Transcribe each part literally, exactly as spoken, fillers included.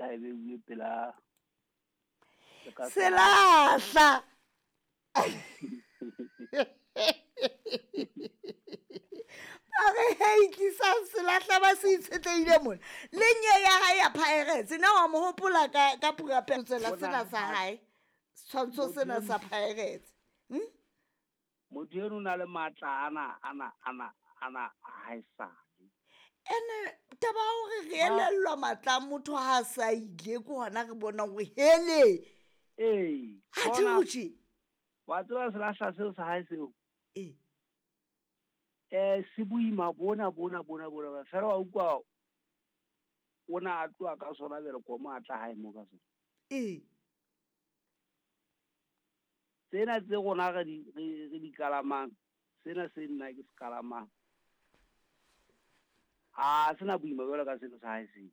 ha e beuwe pela selahla. Ba re hei tlisang selahla ba se itshetlehile mona. Le nye ya hae ya Pirates na wa mo hopola ka ka purapelo tsela sena sa hae. Setshwantsho sena sa Pirates. Hm? Motho eno o na le matla ana ana ana ana haesale. Ene taba ya hore re elellwa matla a motho ha a sa ile ke hona re bonang hore hele. Ee. Ha Bona tjhe. wa tseba selahla seo sa hae seo. Ee. Eh se boima bona bona bona bona fela wa utlwa o na a tloha ka sona bele komo a tla hae mo ka sona. Ee. Tsena tse rona re di re re di kalamang, sena se nna ke se kalamang. Ha sena boima jwalo ka seno sa hae seo.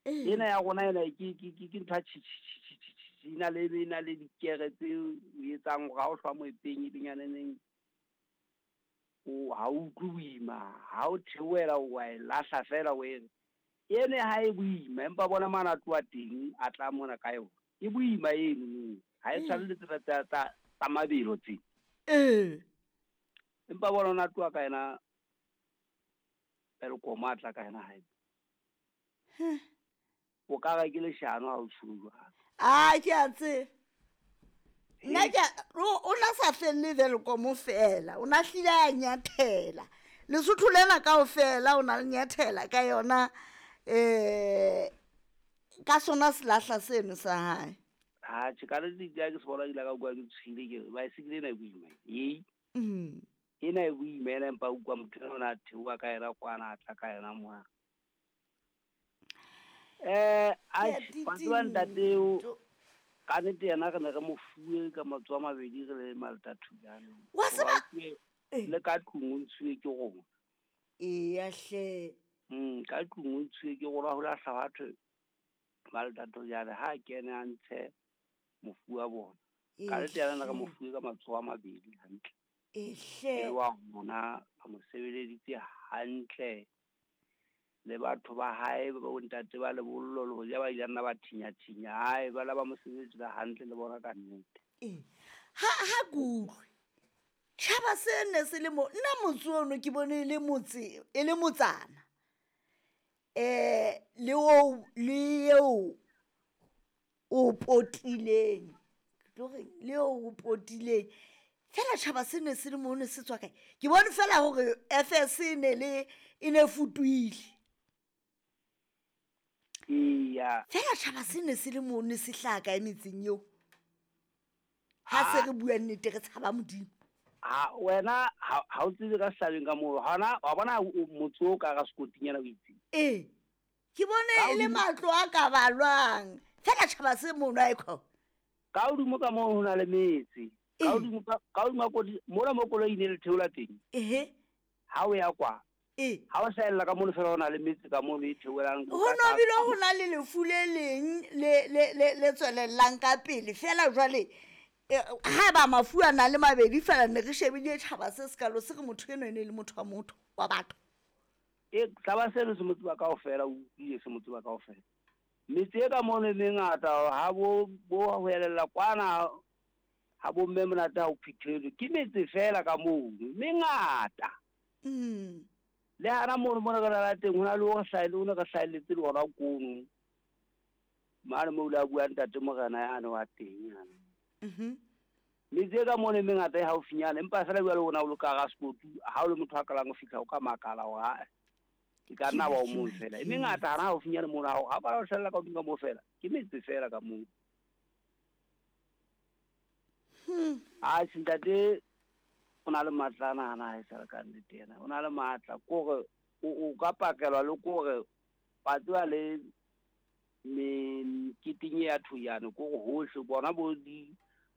Ee. Ena ya rona ena ke ke ke ke ntho ya tjhi tjhi tjhi tjhi tjhi e na le e na le dikere tse o etsang hore ha o hlwa moepeng e benyaneng o ha o utlwe boima, ha o theohela wa e lahla fela o e re. Ene ha e boima empa bona mane a tloha teng a tla mona ka yona. E boima eno ha e tshwane le tsena tsa tsa tsa mabelo tse. Ee. Empa bona ona tloha ka yena Welkom a tla ka yena hae. O ka re ke leshano ha o tjho jwalo. Ah ke a tseba. Nna ke a- o na sa felle Welkom fela, o na hlile a nyathela. Lesotho lena kaofela o na le nyathela ka yona eh ka sona selahla seno sa hae. Ha tjhe ka le ke se bona ke ile ka utlwa ke tshohile ke re baesekele ena e boima. Hei. Mm. Ena e boima ena empa utlwa motho enwa o na theoha ka yena kwana a tla ka yena mona. Eh Ke a wa tseba ntate eo titinto. ka nnete yena re ne re mo fuwe ka matsoho a mabedi re le Malta Thulane. Wa tseba Hoba le ka tlung o ntshuwe ke rona. Eya hle. Mm ka tlung o ntshuwe ke rona ho lahla batho Malta Thulane ha kene a ntshe mofu wa bona. Ka nnete yena ne re mo fuwe ka matsoho a mabedi hantle. Ehle. E wa rona a mo sebeleditse hantle. Le batho ba hae ba bontate ba lebollo le hoja ba ile nna ba thinya thinya hae ba la ba mo sebeletsa hantle le bona ka nnete. Ee. Ha ha ke utlwe. Tjhaba se ne se le mo nna motse ono ke bone e le motse e le motsana. Eh le o le eo o potileng. Ke tlo reng le eo o potileng. Fela tjhaba se ne se le mo ne se tswa kae? Ke bone fela hore F S e ne le e ne futuhile. Eya. Fela tjhaba se ne se le mo ne se hlaha kae metseng eo? Ha se re bua nnete re tshaba Modimo. Ha wena ha ha o tsebe ka sehlabeng ka moo hona wa bona motse o ka ra sekotinyana o itseng. Ee. Ke bone e le matlo a ka balwang. Fela tjhaba se mono ha e khona. Ka hodimo ka moo ho na le metse. Ka hodimo ka ka hodimo kodi mona mo koloi ne le theola teng. Ehe. Ha o ya kwa. Ee. Ha o hlahella ka mono fela ho na le metse ka mono e theolang. Ho no bile ho na le lefu le leng le le le le tswelellang ka pele fela jwale ha ba mafu a na le mabedi fela ne re shebile tjhaba se sekalo se re motho eno ene le motho wa motho wa batho. E taba seno se motse ba kaofela o utlwile se motse ba kaofela. Metse e ka mono e mengata ha bo bo ho elella kwana ha bo mme monate ha o phithelwe ke metse fela ka mono mengata. Mm. Le hana mono mona ka la teng hona le o hlahile o ne ka hlahelletse le hona kono. Mane mo la bua ntate morena yane wa teng yana. Mhm. Metse ka mono e mengata e haufinyana empa fela jwale ona o le ka ra sekotu ha o le motho a kalang ho fihla o ka makala hore ha e ka nna wa o mong fela. E mengata hana haufinyana mono ha ha ba o hlahella ka hodimo ka moo fela ke metse fela ka moo. Hmm. Ah ntate o na le matla ana hana ha e sa le ka nnete yena. O na le matla kore o o ka pakelwa le kore ba tseba le meketeng ya Thuyane kore hohle bona bo di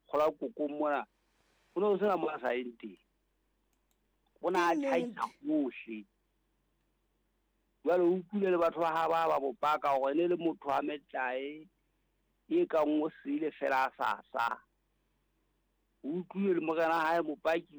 kgola kokong mona ho ne ho sena mo a sa yeng teng. O na a tjhaisa hohle. Jwale o utlwile le batho ba ha ba ba bo paka hore ne le motho wa metlae e kang o sele fela a sa sa. O utlwile le morena hae mopaki